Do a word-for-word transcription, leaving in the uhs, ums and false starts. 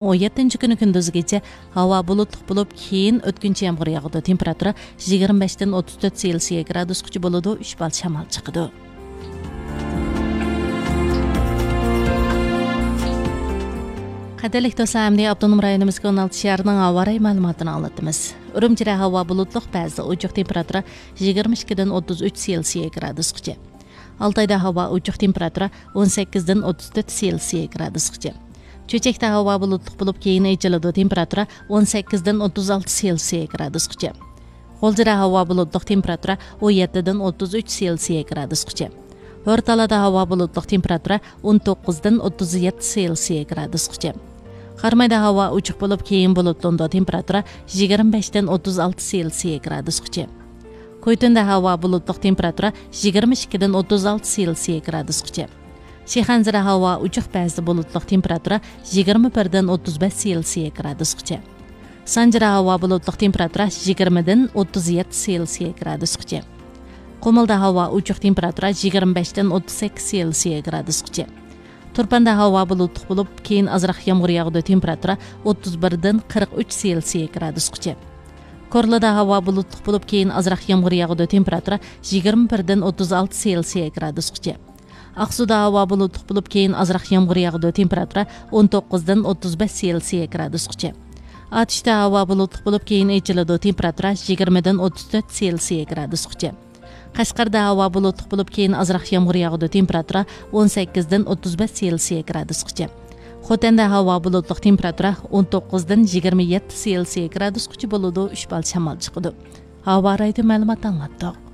ئون يەتتىنچى كۈنى كۈندۈزگىچە ھاۋا بۇلۇتلۇق بولۇپ، كېيىن ئۆتكۈنچى يامغۇر ياغىدۇ. تېمپېراتۇرا يىگىرمە بەشتىن ئوتتۇز تۆت سېلسىيە گرادۇسقىچە بولىدۇ، ئۈچ بال شامال چىقىدۇ. قەدىرلىك دوستلار، ئەمدى ئاپتونوم رايونىمىزدىكى ئون ئالتە شەھەرنىڭ ھاۋا رايى مەلۇماتىنى ئاڭلىتىمىز. ئۈرۈمچىدە ھاۋا بۇلۇتلۇق، بەزىدە ئوچۇق، تېمپېراتۇرا يىگىرمە ئىككىدىن ئوتتۇز ئۈچ سېلسىيە گرادۇسقىچە. ئالتايدا ھاۋا ئوچۇق، تېمپېراتۇرا ئون سەككىزدىن ئوتتۇز تۆت سېلسىيە گرادۇسقىچە. چۆچەكتە ھاۋا بۇلۇتلۇق بولۇپ، كېيىن ئېچىلىدۇ، تېمپېراتۇرا ئون سەككىزدىن ئوتتۇز ئالتە سېلسىيە گرادۇسقىچە. غۇلجىدا ھاۋا بۇلۇتلۇق، تېمپېراتۇرا ئون يەتتىدىن ئوتتۇز ئۈچ سېلسىيە گرادۇسقىچە. ھورتالىدا ھاۋا بۇلۇتلۇق، تېمپېراتۇرا ئون توققۇزدىن ئوتتۇز يەتتە سېلسىيە گرادۇسقىچە. قارامايدا ھاۋا ئوچۇق بولۇپ، كېيىن بۇلۇتلىنىدۇ، تېمپېراتۇرا يىگىرمە بەشتىن ئوتتۇز ئالتە سېلسىيە گرادۇسقىچە. كويتۈندە ھاۋا بۇلۇتلۇق، تېمپېراتۇرا يىگىرمە ئىككىدىن ئوتتۇز ئالتە سېلسىيە گرادۇسقىچە. شىخەنزىدە ھاۋا ئوچۇق، بەزىدە بۇلۇتلۇق، تېمپېراتۇرا يىگىرمە بىردىن ئوتتۇز بەش سېلسىيە گرادۇسقىچە. سانجىدا ھاۋا بۇلۇتلۇق، تېمپېراتۇرا يىگىرمىدىن ئوتتۇز يەتتە سېلسىيە گرادۇسقىچە. قۇمۇلدا ھاۋا ئوچۇق، تېمپېراتۇرا يىگىرمە بەشتىن ئوتتۇز سەككىز سېلسىيە گرادۇسقىچە. تۇرپاندا ھاۋا بۇلۇتلۇق بولۇپ، كېيىن ئازراق يامغۇر ياغىدۇ، تېمپېراتۇرا ئوتتۇز بىردىن قىرىق ئۈچ سېلسىيە گرادۇسقىچە. كورلىدا ھاۋا بۇلۇتلۇق بولۇپ، كېيىن ئازراق يامغۇر ياغىدۇ، تېمپېراتۇرا يىگىرمە بىردىن ئوتتۇز ئالتە سېلسىيە گرادۇسقىچە. ئاقسۇدا ھاۋا بۇلۇتلۇق بولۇپ، كېيىن ئازراق يامغۇر ياغىدۇ، تېمپېراتۇرا ئون توققۇزدىن ئوتتۇز بەش سېلسىيە گرادۇسقىچە. ئاتۇشتا ھاۋا بۇلۇتلۇق بولۇپ، كېيىن ئېچىلىدۇ، تېمپېراتۇرا يىگىرمىدىن ئوتتۇز تۆت سېلسىيە گرادۇسقىچە. قەشقەردە ھاۋا بۇلۇتلۇق بولۇپ، كېيىن ئازراق يامغۇر ياغىدۇ، تېمپېراتۇرا ئون سەككىزدىن ئوتتۇز بەش سېلسىيە گرادۇسقىچە. خوتەندە ھاۋا بۇلۇتلۇق، تېمپېراتۇرا ئون توققۇزدىن يىگىرمە يەتتە سېلسىيە گرادۇسقىچە بولىدۇ، ئۈچ بال شامال چىقىدۇ. ھاۋا رايىدىن مەلۇمات ئاڭلاتتۇق.